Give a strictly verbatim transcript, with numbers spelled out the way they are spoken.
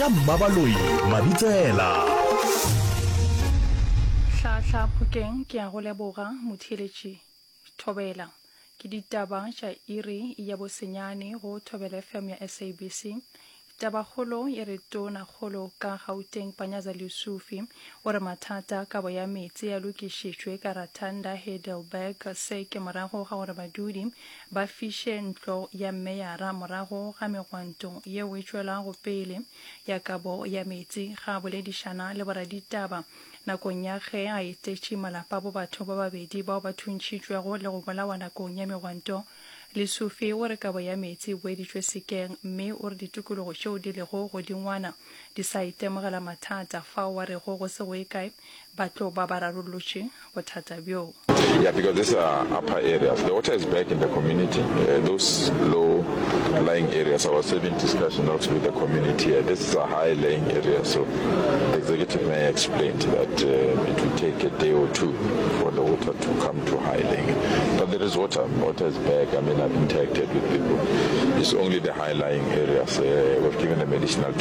Ka Mmabaloi Mabitsela. Hlahla Phokeng ke a go leboga motheeletši Thobela. Ke ditaba tša iri ya bosenyane go Thobela F M ya S A B C. Tabakgolo e re Tonakgolo ka Gauteng Panyaza Lesufi o re mathata a kabo ya meetse a lokišitšwe ka Ratanda Heidelberg. Se ke morago ga gore badudi ba fiše ntlo ya meyara morago ga megwanto yeo e tšwelago pele ya kabo ya meetse. Ga a boledišana le boraditaba nakong ya ge a etetše malapa a bo batho ba babedi bao ba thuntšhitšwego le go bolawa nakong ya megwanto, Lesufi o re kabo ya meetse e boeditšwe sekeng mme o re ditokologo tšeo di lego godingwana di sa itemogela mathata fao a rego go se go ye kae ba tlo ba ba rarollotše bothata bjo. Yeah, because these are upper areas. The water is back in the community. Uh, those low lying areas, I was having discussion also with the community here. This is a high laying area, so the executive mayor explained that uh, it will take a day or two for the water to come to high laying. But there is water. Water is back. I mean, I've interacted with people. It's only the high lying areas. Uh, we've given them additional